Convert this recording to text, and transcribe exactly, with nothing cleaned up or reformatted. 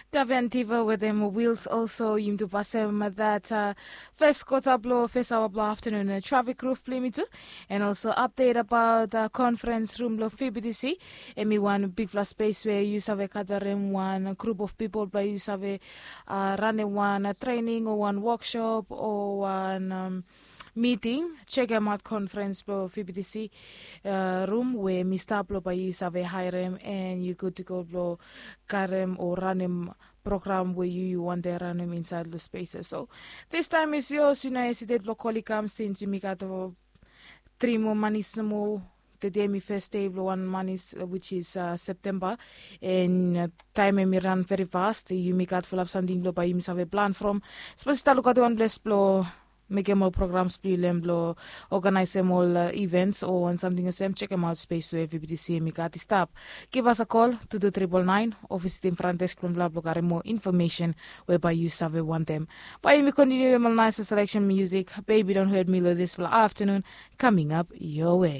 Daventiva wetem wils olso yumi tu pasem dat fes kota blong fes aoa blong aftanun trafik ruf blong yumi tu. And also update abaot konferens rum blong fbtc. Em i wan bigfala spes we yu save gadarim wan grup of pipol blong yu save ranem wan trening o wan wokshop o wan miting. Sekemaot konferens blong fbtc rum we mi stap blong bae yu save haerem and yu gud tu go blong karem o ranem program we yu yu wantem ranem insaed long spes ya. So distaem is yos yu no hesitet blong kol i kam sins yumi gat tri moa manis nomo. Tede em i fes dei blong wan manis, wich is septemba. And taem em i ran veri fast yumi gat fulap samting blong bae yumi save plan from. Sapos yu stap lukaot wan ples blong mekem ol programs blong yu long em blong oganaesem ol ivens o wan samting olsem, sekemaot spes we vbtc em i gat i stap. Givas a kol tu tu tripol naen o visitim fran desk blong blong blong karem moa infomesen we bae yu save wantem. Bae yumi kontiniu long ol naes seleksen musik. Bebi don hot mi long disfala aftanun kaming ap yoa we.